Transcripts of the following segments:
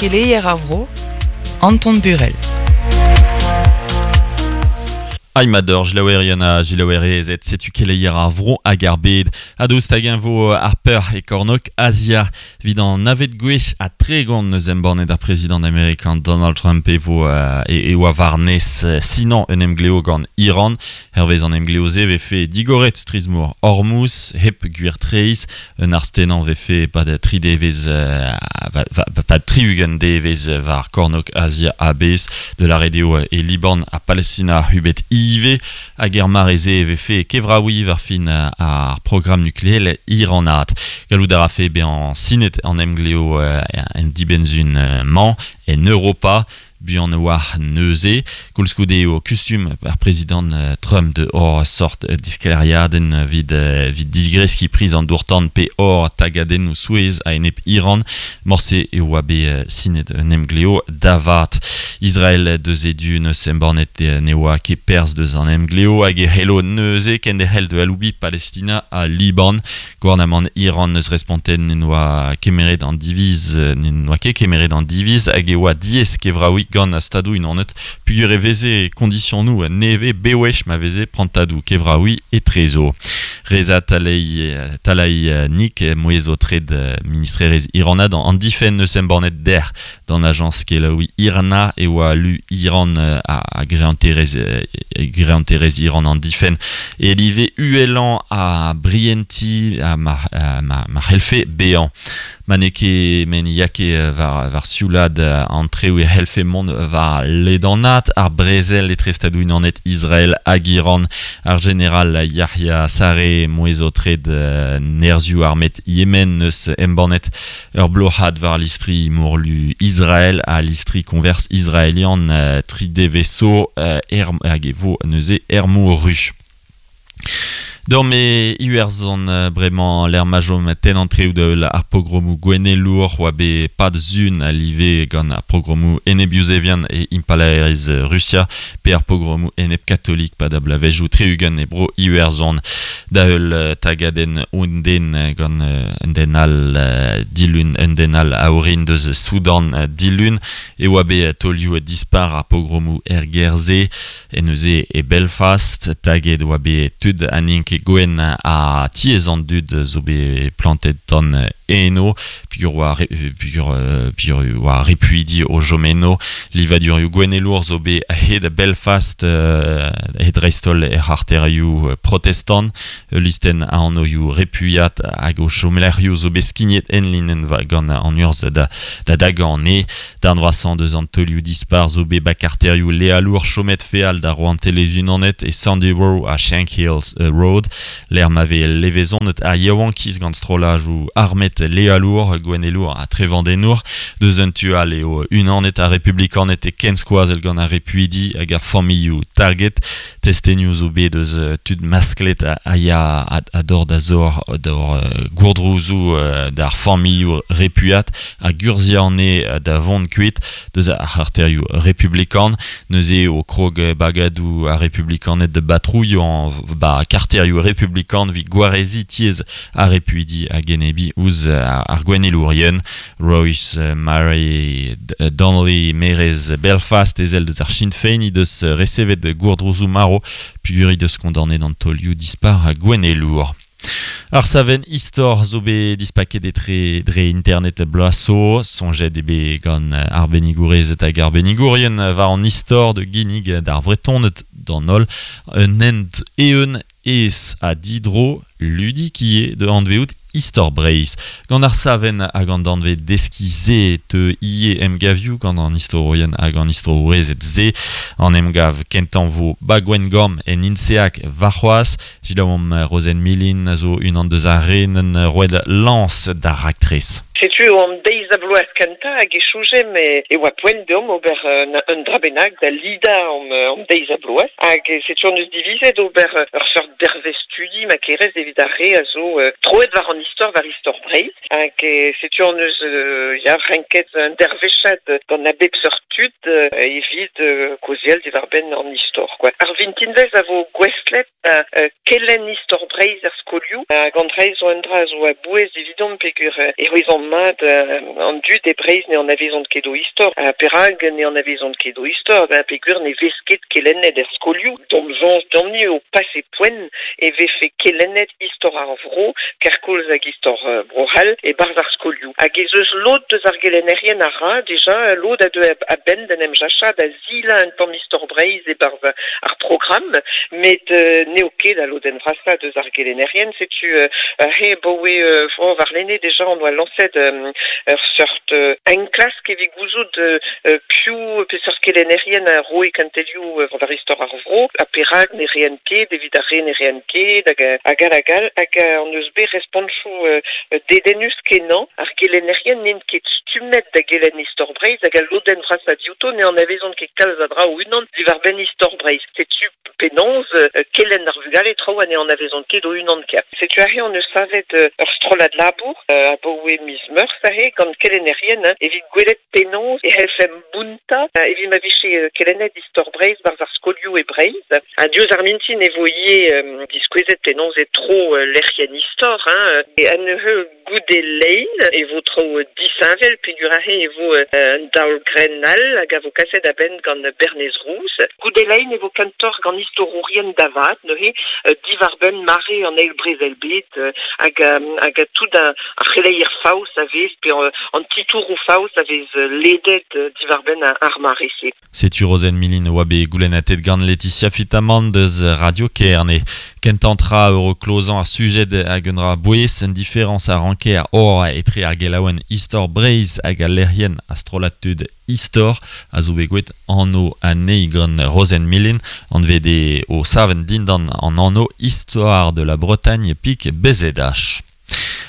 Keleier ar vro, Anton Burel. Aimador, jilaouerien ha jilaouerezed, setu keleier ar vro hag ar bed. Ha daoust hag-eñ vo ar peur e kornôg Azia evit an navet gwech ha 30 neus embannet ar prezidant amerikan Donald Trump e vo e, e oa war-nes sinañ un emglev gant Iran. Hervez an emglev-se e vefe digoret strizh-mor Hormuz hep gwir treizh. Un arz-tennañ vefe e-pad tri devezh pad 60 devezh war kornôg Azia a-bezh, da lâret eo e Liban ha Palestina hubet ivez. Hag er mare-se e vefe kevraouiñ war fin ar programm nukleel iranat. Gallout a rafe bezañ sinet an emglev en dibenn-sizhun-mañ en Europa. Buan a-walc'h neuze. Koulskoude eo kustum ar prezidant Trump da ober sort disklêriadenn evit evit digreskiñ priz an dour-tan pe hor tagadennoù souezh a-enep Iran. Morse e oa bet sinet un emglev da vat. Israel deus e du neus embannet ne oa ket perzh deus an emglev hag e c'hello neuze kenderc'hel da aloubiñ Palestina ha Liban. Gouarnamant Iran n'eus respontet n'en doa kemeret an diviz n'en doa ket kemeret an diviz hag e oa diaes kevraouiñ gant ar Stadoù-Unanet peogwir e veze kondisionoù nevez bewech ma veze prantadoù kevraouiñ etrezo. Reza Talei Talai Nik mouezh-aotred ministrerezh iranat an difenn n'eus embannet dec'h D'an ajañs kelaouiñ IRNA e oa lu Iran ha greanterezh greanterezh Iran an difenn e live uhelañ a brientiñ ha ma ma c'hellfe bezañ. Ma n'eo ket met ne ya ket war war sioulaat an traoù e c'hellfe mont war ledanaat ar brezel etre Stadoù-Unanet, Israel hag Iran. Ar jeneral Yahya Saree mouezh-aotred nerzhioù armet Yemen neus embannet Ur bloc'had war listri morlu Israel ha listri koñvers israelian tri devezh zo hag e vo neuze er mor ru. Deomp e Iwerzhon bremañ lec'h ma chom tenn an treoù da heul ar pogromoù gouennelour oa bet pad sun a-live gant ar pogromoù enep-yuzevian e Impalaeriezh Rusia pe ar pogromoù enep-katolik pad ar bloavezhioù 60 e bro Iwerzhon. Da heul tagadenn un den gant un den all dilun, un den all a orin deus Soudan dilun, e oa bet taolioù dispar ar pogromoù er gêr-se. E neuze e Belfast, taget oa bet tud ha n'int ket gwenn ha tiez an dud zo bet plantet tan eno. Peogwir oa peogwir oa repuidi o chom eno. Livadurioù gouennelour zo bet a-hed Belfast, he dreist-holl er c'harterioù protestant. Ul listenn a anvioù repuiat hag o chomlec'hioù zo bet skignet enlinenn gant an urzh da da dagañ anezhe. Darn vrasañ deus an teulioù dispar zo bet ba karterioù lealour chomet feal da Rouantelezh-Unanet e Sandy Row ha Shankill Road, lec'h ma vez levezonet ar yaouankiz gant strollajoù armet lealour, gouennelour ha trevandennour. Deus un tu all eo unanet ar republikaned e kenskoazell gant ar repuidi hag ar familhoù target. Testenioù zo bet eus tud masklet a ya a dor da zor d'hor gourdrouzoù d'ar familhoù repuat hag urzhiañ anezhe da vont kuit deus ar c'harterioù republikan. Neuze eo krog bagadoù ar republikaned da batrouilhañ ba karterioù republikan evit gwareziñ tiez ar repuidi hag enebiñ ouzh ar gouennelourien. Royce Mary Donnelly, maerez Belfast, ezel deus ar Sinn Féin, he deus resevet gourdrouzoù marv peogwir he deus kondaonet an taolioù dispar gouennelour. Ar savenn istor zo bet dispaket etre dre internet bloaz zo. Soñjet eo bet gant arbennigourezed hag arbennigourien war an istor da ginnig d'ar Vretoned d'an holl un hent eeun aes ha didro, ludik ivez da anvezout istor Breizh. Gant ar savenn hag an danvez deskiñ-se e teu ivez emgavioù gant an istorourien hag an istorourezed-se. An emgav kentañ 'vo 'ba Gwengamp en Inseak warc'hoazh. Selaouomp Rozenn Milin a zo unan deus ar re 'neunt roet lañs d'ar raktres. Setu an deiz-ha-bloaz kentañ hag e soñjemp e oa poent deomp ober un dra bennak da lidañ an deiz-ha-bloaz. Hag setu hon eus divizet ober ur seurt dervezh-studi ma kerez evit ar re a zo troet war an istor, war istor Breizh. Hag setu hon eus ya renket un dervezhad gant a bep seurt tud evit kaozeal diwar-benn an istor kwa. Ar vintinvezh a vo gouestlet da kelenn istor Breizh er skolioù hag an dra zo un dra zo a-bouez evidomp peogwir e c'hwezomp mat an dud e Breizh ne anavezont ket o istor. Ha perak ne anavezont ket o istor? Ben peogwir ne vez ket kelennet er skolioù. D'hom soñj deomp-ni eo pase poent e vefe kelennet istor ar vro kerkoulz hag istor Bro-C'hall e-barzh ar skolioù. Hag ez eus lod deus ar gelennerien a ra dija, lod a deu a-benn d'en em jachañ da silañ un tamm istor Breizh e-barzh ar programm, met n'eo ket al lodenn vrasañ deus ar gelennerien. Setu aze 'baoe warlene dija hon oa lañset ur seurt enklask evit gouzout piv, peseurt kelennerien a roe kentelioù war istor ar vro ha perak ne reent ket, evit ar re ne reent ket, hag hag all hag all. Hag hon eus bet respontoù dedennus-kenañ. Ar gelennerien n'int ket stummet da gelenn istor Breizh hag al lodenn vrasañ diouto ne anavezont ket kalz a dra o-unan diwar-benn istor Breizh. Setu penaos kelenn ar vugale traoù ha ne anavezont ket o-unan ker. Setu aze hon eus savet ur strollad labour abaoe miz Meurzh aze gant kelennerien evit gwelet penaos e c'hellfemp bountañ evit ma vije kelennet istor Breizh 'barzh ar skolioù e Breizh. Ha diouzh ar mintin e vo ivez diskouezet penaos e tro lec'hienn istor hein. Ha neuze goude lein e vo traoù disheñvel peogwir aze e vo un daol-grenn all hag a vo kaset a-benn gant Bernez Rouz. Goude lein e vo kentoc'h gant istorourien da vat neuze diwar-benn mare an Eil Brezel-bed hag hag tout ar c'heleier faos a vez pe an titouroù faos a vez ledet diwar-benn ar mare-se. Setu Rozenn Milin oa bet goulennatet gant Laetitia Fitamant deus Radio Kerne. Kentañ tra eo klozañ ar sujed hag un dra bouez, un diferañs a ranker or etre ar gelaouenn Istor Breizh hag al lec'hienn a strollad tud Istor a zo bet gwelet anv anezhi gant Rozenn Milin, anvet eo o savenn dindan an anv Histoire de la Bretagne pik BZH.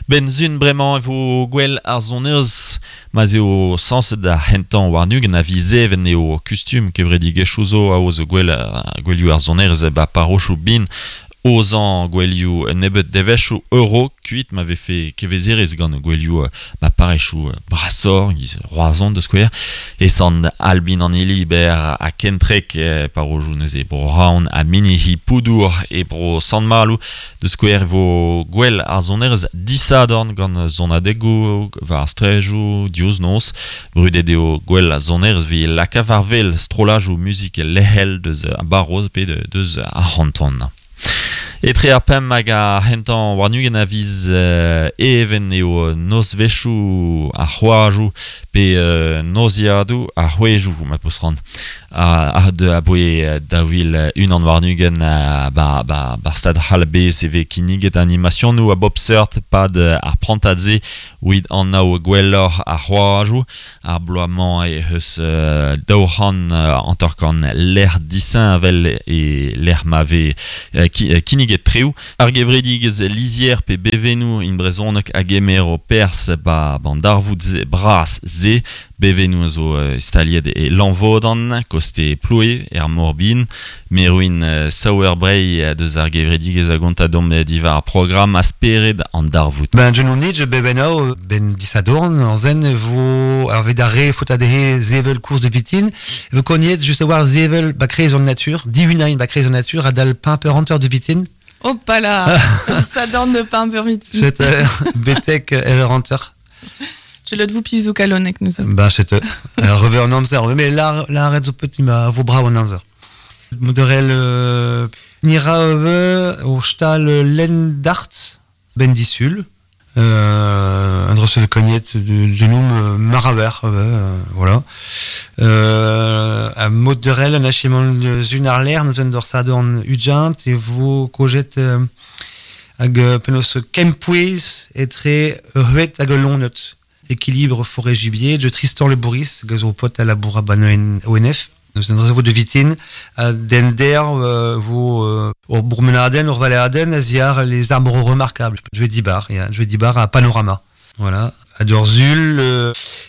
Benn-sun bremañ e vo gwell ar sonerezh ma'z eo sañset ar c'hentañ warn-ugent a viz Even eo kustum kevredigezhioù zo aoz gwell gouelioù ar sonerezh ba parrochoù bin aozañ gouelioù un nebeud devezhioù euro kuit ma vefe kevezerezh gant gouelioù ma parrezioù brasoc'h, giz Roazhon da skouer, e Sant Albin an Hiliber ha Kentreg parrozioù neuze Bro-Raon ha Minihi Poudour e Bro Sant-Maloù. Da skouer e vo gwell ar sonerezh disadorn gant sonadegoù war ar straejoù diouzh noz. Brudet eo gwell ar sonerezh evit lakaat war wel strollajoù muzik lec'hel deus ar barroz pe deus ar c'hanton. Etre ar pemp hag ar c'hentañ warn-ugent a viz Even eo nozvezhioù ar c'hoajoù pe noziadoù ar c'hwezhoù ma peus c'hoant. Aboe 2021 ba bar stad c'hall a-bezh e vez kinniget animasionoù a bop seurt 'pad ar prantad-se evit anav gwelloc'h ar c'hoajoù. Ar bloaz-mañ eh eus 250 lec'h disheñvel e lec'h ma vez kinniget treoù. Ar gevredigezh lizher pe bevennoù in brezhoneg a gemero perzh 'ba an darvoud bras-se. Bevennoù a zo staliet e Lanvodan, koste Ploe, er Mor-Bihan. Merwin Sauerbrey deus ar gevredigezh a gonta deomp diwar ar programm ha spered an darvoud. Ben, je n'on je bebenno, ben disadorn, an zen e vo, ar vet ar re faot dezhe zevel course de vitin, e vo kognet just a war zevel ba kreiz an natur, dihunain ba kreiz an natur, adal pimper hanter de vitin. Hop là, sadorn de pimper vitin. Chet betek er hanter. Je le vous pizo kalonek nous. Ben, chet revers an amzer, mais la la arrête zo petit ma vo bravo an amzer. Moderel nira o stal Lendart ben disul. Un recevait cognet de genoum maraver, voilà. A moderel an achemant zun ar l'air, nous en dorsadorn ujant e vo kojet hag penaos kempouez etre ruet hag lonet. Équilibre forêt gibier, de Tristan Le Bourris, gazo pot à la bourra ONF. Nous en réseau de vitin, den der vo ur bourmenaden, ur valeaden, a ziar les arbres remarquables. Je vais dibar, je vais dibar à panorama. Voilà. A Dorzul,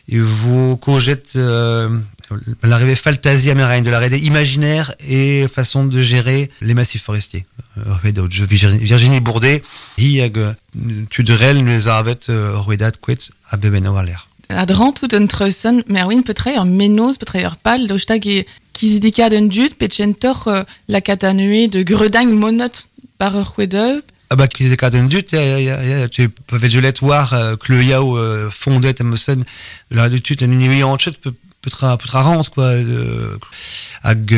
et vo kojet l'arrivée fantasy américaine, de l'arrivée imaginaire et façon de gérer les massifs forestiers. Virginie Bourdet, hi hag tudrel nous avet ruedat kuet a beben war l'air. A dran tout un treusen, Merwin petre ur menoz, petre ur pal, daoust hag e kizidikad un dud, pe tchentor la katanue de greudang monot par ur c'hwedeu. Ah bah, kizidikad un dud, ya, ya, ya, ya, tu peux gelet war kleuiao fondet am la de tut un univi anchet petra petra rant quoi hag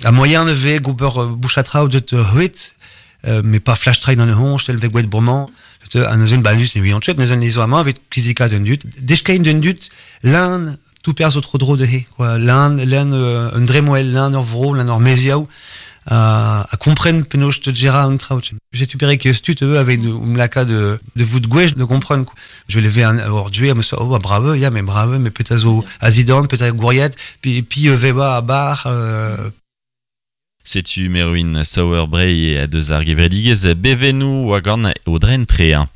a moyen de ve gober bouchatra de huit mais pas flash train dans le honch tel ve gwet bromant an eus ba nus ne anchet neus an izo amañ evit kizidikad un dud deskain d'un dud l'un tout perz tro dro de he quoi l'un l'un un dremoel l'un ur vro l'un ur meziaou a kompren penaos te gera un traout. J'ai tu pere que stut eux avec um laka de vout gwech de comprendre quoi. Je vais lever un or duer me so oh bravo ya mais bravo mais peut-être zo azidan peut-être gouriette puis puis veba à bar Setu Merwin Sauerbrey a deus ar gevredigez bevenou oa gant o dren trea.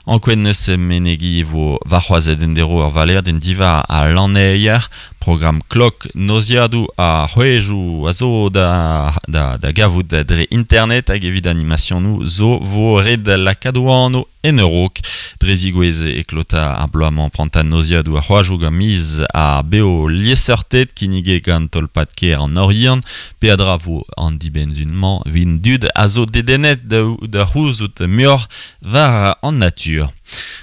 Ankoen neus menegi vo varc'hoaz den dero ur valer den diva a laneier, program klok noziadou a c'hwejou a zo da gavout dre internet hag evit animationou zo vo red lakadoano en eurok. Dre zigouez e klota ar bloamant prantan noziadou a c'hoajou gant miz a beo lieseurtet kinige gant tolpat ker an Orient, pe a dra vo an dibenzunman vin dud a zo dedenet da c'houzout muioc'h war an natur.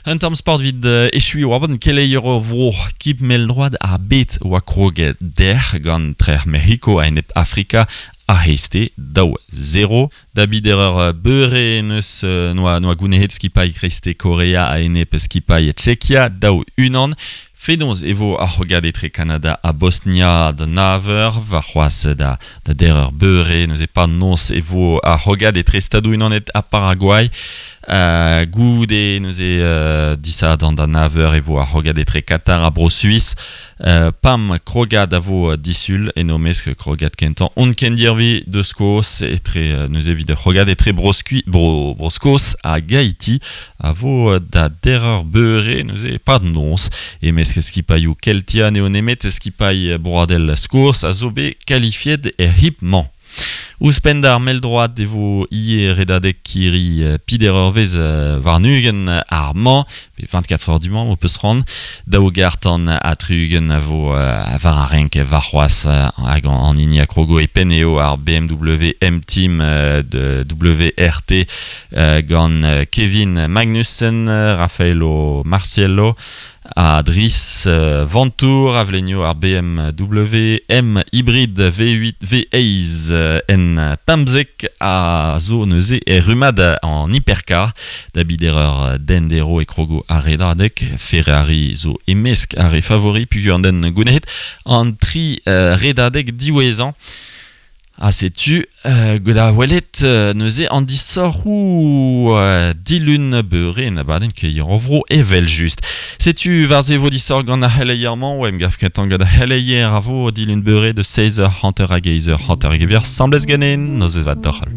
Un tamm sport vid echui oa bon keleier ur vro kip mel droad ar bet oa krog der gant trer Mexico a enep Afrika a heiste daou 0. Da bid erreur beure neus noa gounehet skipai kreiste Korea a enep skipai Tchekia daou unan. Fedonz e vo ar c'hogad etre Kanada a Bosnia da naver, war c'hoaz da dereur beure, neuze pa noz e vo ar c'hogad etre Stadou unanet a Paraguay. Goude neuze disadan da naver e vo ar c'hogad etre Qatar a Bro-Suisse. Pam krogad a vo disul, eno mesk krogad kentan on kendirvi de Skos etre neuze vid c'hogad etre Bro-Skos a Gaïti a vo da dereur beure neuze pa noz. E mesk skipaioù Keltia neo nemet skipai Broadel Skos a zo bet qualifiet er hipman. Ouzhpenn d'ar mell-droad e vo ie redadek kiri pider ur vez war nugen ar mañ, pe 24 heures du mañ, o peus ran, daou gartan a triugen a vo war ar renk war c'hoaz hag an hini a krogo e pen eo ar BMW M-Team de WRT gant Kevin Magnussen, Raffaello Marciello, a Dries Ventour, a vlenio ar BMW M Hybrid V8 V8 en pemzek a zo neuze e rumad an hypercar. Da bidereur dendero e krogo ar redadek, Ferrari zo emesk ar e favori pugur an den gounehet an tri redadek diwezhañ. A setu da welet neuze an disorc'hoù dilun beure na baden ket vro evel just. Setu war ze vo disor gant ar c'heleier-mañ, oa em gav kentan gant ar c'heleier a vo dilun beure de 16h, hanter hag eizh hanter hag evier, semblez ganen, noz vat doc'hal.